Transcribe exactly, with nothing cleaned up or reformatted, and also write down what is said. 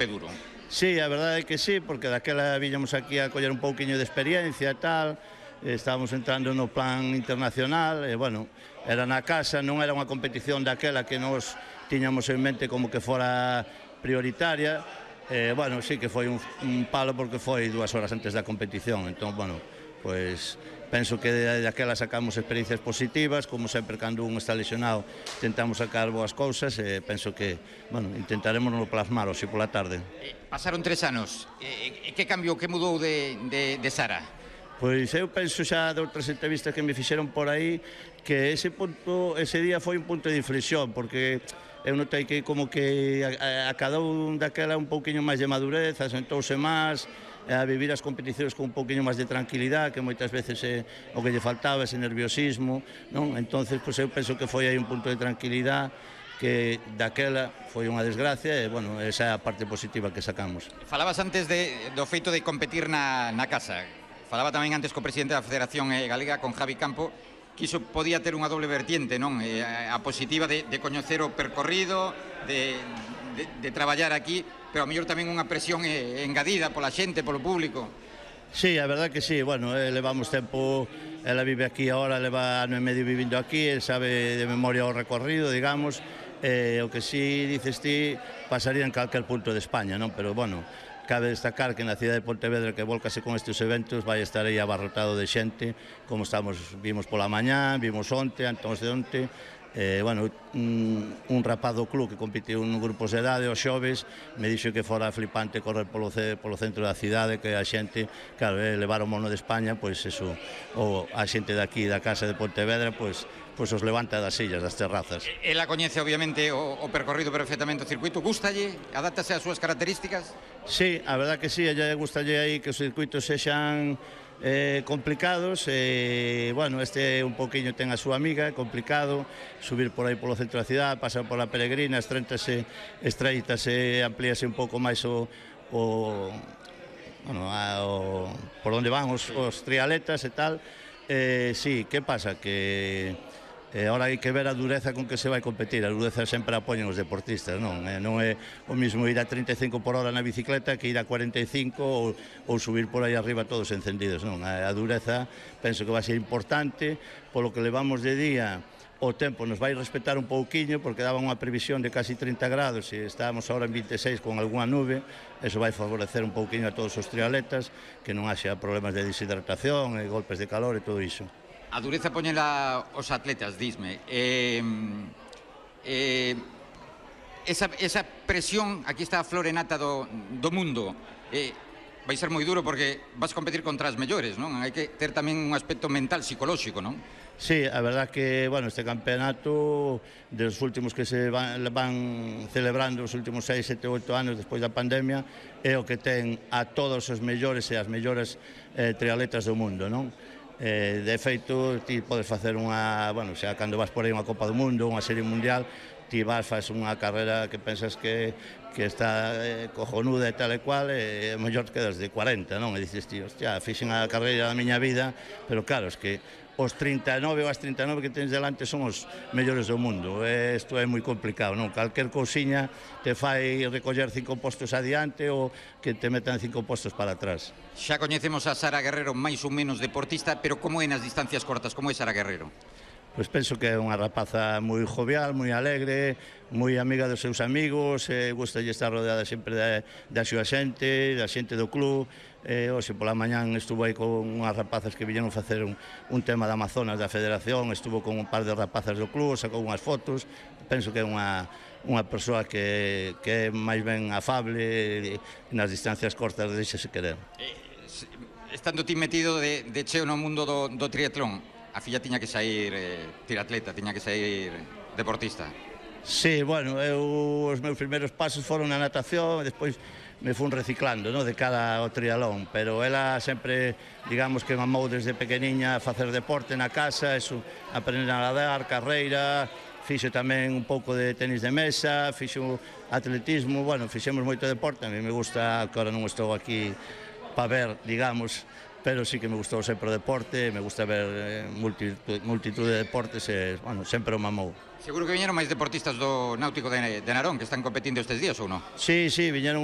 golpe duro. Sí, a verdade é que sí, porque daquela viñamos aquí a coller un pouquiño de experiencia e tal, estábamos entrando no plan internacional, e, bueno, era na casa, non era unha competición daquela que nos tiñamos en mente como que fora prioritaria, e, bueno, sí que foi un, un palo porque foi dúas horas antes da competición, entón, bueno, pois penso que daquela sacamos experiencias positivas, como sempre cando un está lesionado tentamos sacar boas cousas e penso que, bueno, intentaremos no plasmar hoxe pola tarde. Eh, pasaron tres anos, eh, que cambiou, que mudou de, de, de Sara? Pois eu penso xa de outras entrevistas que me fixeron por aí que ese punto, ese día foi un punto de inflexión, porque eu notei que como que a, a cada un daquela un pouquiño máis de madurez, asentouse máis, a vivir as competicións con un pouquiño máis de tranquilidade, que moitas veces é o que lle faltaba, ese nerviosismo, non? Entonces, pois eu penso que foi aí un punto de tranquilidade que daquela foi unha desgracia e, bueno, esa é a parte positiva que sacamos. Falabas antes de, do feito de competir na, na casa. Falaba tamén antes co presidente da Federación Galega, con Javi Campo, que iso podía ter unha doble vertiente, non? Eh, a positiva de, de coñecer o percorrido, de, de, de traballar aquí, pero a mellor tamén unha presión eh, engadida pola xente, polo público. Sí, a verdad que sí, bueno, eh, levamos tempo, ela vive aquí ahora, leva ano e medio vivindo aquí, el sabe de memoria o recorrido, digamos, eh, o que sí dices ti pasaría en calquer punto de España, non? Pero, bueno, cabe destacar que na cidade de Pontevedra, que volcase con estes eventos, vai estar aí abarrotado de xente, como estamos, vimos pola mañá, vimos onte, antes de onte, eh, bueno, un, un rapaz do club que competiu en grupos de idade, os xoves, me dixo que fora flipante correr polo, polo centro da cidade, que a xente, claro, eh, levar o mono de España, pois eso, o a xente daqui da casa de Pontevedra, pois, pois os levanta das sillas, das terrazas. Ela coñece, obviamente, o, o percorrido perfectamente o circuito, gustalle, adáptase ás súas características? Sí, a verdad que sí, a ella gustalle aí que os circuitos sexan eh, complicados, e, bueno, este un poquinho ten a súa amiga, é complicado, subir por aí polo centro da cidade, pasar pola Peregrina, estreitase, estreitase, amplíase un pouco máis o, o, bueno, a, o por onde van os, os trialetas e tal, eh, sí, que pasa? Que E agora hai que ver a dureza con que se vai competir. A dureza sempre a poñen os deportistas, non? E non é o mismo ir a trinta e cinco por hora na bicicleta que ir a cuarenta e cinco ou, ou subir por aí arriba todos encendidos, non? A, a dureza penso que vai ser importante, polo que levamos de día o tempo nos vai respetar un pouquiño, porque daba unha previsión de casi trinta grados e estábamos ahora en vinte e seis con algunha nube, eso vai favorecer un pouquiño a todos os triatletas, que non haxa problemas de deshidratación e golpes de calor e todo iso. A dureza poñela os atletas, disme. Eh, eh, esa, esa presión, aquí está a florenata do, do mundo, eh, vai ser moi duro porque vas competir contra as mellores, non? Hai que ter tamén un aspecto mental, psicolóxico, non? Sí, a verdad que, bueno, este campeonato dos últimos que se van, van celebrando os últimos seis, sete, oito anos despois da pandemia é o que ten a todos os mellores e as mellores eh, triatletas do mundo, non? Eh, de feito, ti podes facer unha, bueno, xa cando vas por aí unha Copa do Mundo, unha serie mundial, ti vas, faz unha carreira que pensas que, que está eh, cojonuda e tal e cual, e mellor quedas de cuarenta, non? E dices, tío, hostia, fixen a carreira da miña vida, pero claro, es que os trinta e nove ou as trinta e nove que tens delante son os mellores do mundo. Isto é moi complicado, non? Calquer cousiña te fai recoller cinco postos adiante ou que te metan cinco postos para atrás. Xa coñecemos a Sara Guerrero máis ou menos deportista, pero como é nas distancias cortas? Como é Sara Guerrero? Pois penso que é unha rapaza moi jovial, moi alegre, moi amiga dos seus amigos, eh, gustalle estar rodeada sempre da, da súa xente, da xente do club. Eh, hoxe pola mañán estuvo aí con unhas rapazas que viñeron facer un, un tema de Amazonas da Federación, estuvo con un par de rapazas do club, sacou unhas fotos. Penso que é unha, unha persoa que, que é máis ben afable, nas distancias cortas deixase querer. Eh, estando ti metido de, de cheo no mundo do, do triatlón, a filla tiña que sair eh, tiratleta, tiña que sair deportista. Sí, bueno, eu, os meus primeiros pasos foron na natación, e despois me fun reciclando, no, de cara ao trialón, pero ela sempre, digamos que mamou desde pequeniña a facer deporte na casa, eso, aprender a nadar, carreira, fixo tamén un pouco de tenis de mesa, fixo atletismo, bueno, fixemos moito deporte, a mí me gusta, que ahora non estou aquí para ver, digamos, pero sí que me gustou sempre o deporte, me gusta ver eh, multitud, multitud de deportes e, bueno, sempre o mamou. Seguro que viñeron máis deportistas do Náutico de, de Narón que están competindo estes días ou non? Sí, sí, viñeron